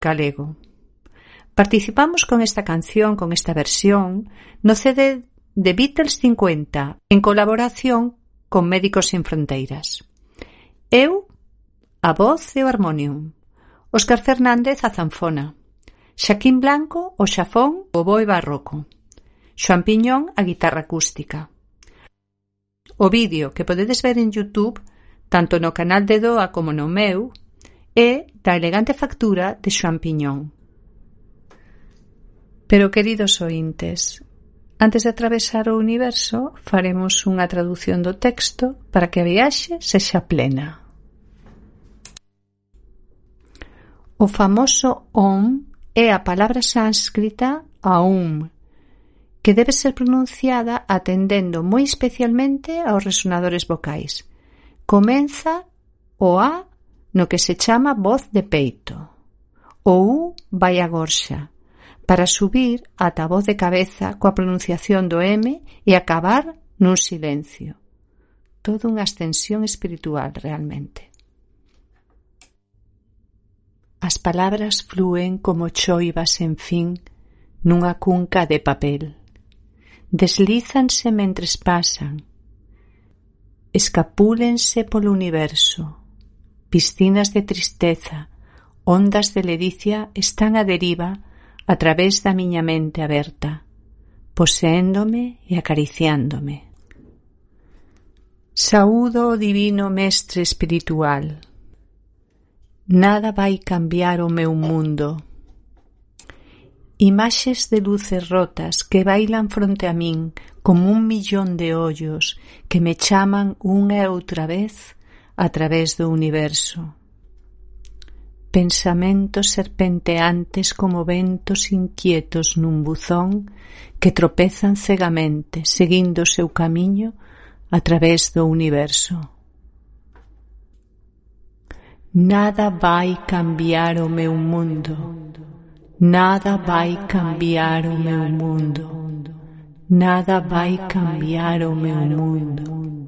galego. Participamos con esta canción, con esta versión, no CD de Beatles 50, en colaboración con Médicos Sin Fronteiras. Eu, a voz e o armonium. Óscar Fernández, a zanfona. Xaquín Blanco, o xafón, o oboe barroco. Xoán Piñón, a guitarra acústica. O vídeo que podedes ver en YouTube, tanto no canal de Doa como no meu, é da elegante factura de Xoán Piñón. Pero, queridos ointes, antes de atravesar o universo, faremos unha traducción do texto para que a viaxe sexa plena. O famoso Om é a palabra sánscrita Aum, que debe ser pronunciada atendendo moi especialmente aos resonadores vocais. Comeza o A no que se chama voz de peito. O U vai a gorxa, para subir ata a voz de cabeza coa pronunciación do M e acabar nun silencio. Toda unha ascensión espiritual, realmente. As palabras flúen como choivas sen fin nunha cunca de papel. Deslízanse mentres pasan. Escapúlense polo universo. Piscinas de tristeza, ondas de ledicia están a deriva a través da miña mente aberta, poseéndome e acariciándome. Saúdo o divino mestre espiritual. Nada vai cambiar o meu mundo. Imaxes de luces rotas que bailan fronte a min como un millón de ollos que me chaman unha e outra vez a través do universo. Pensamentos serpenteantes como ventos inquietos nun buzón que tropezan cegamente seguindo o seu camiño a través do universo. Nada vai cambiar o meu mundo. Nada vai cambiar o meu mundo. Nada vai cambiar o meu mundo.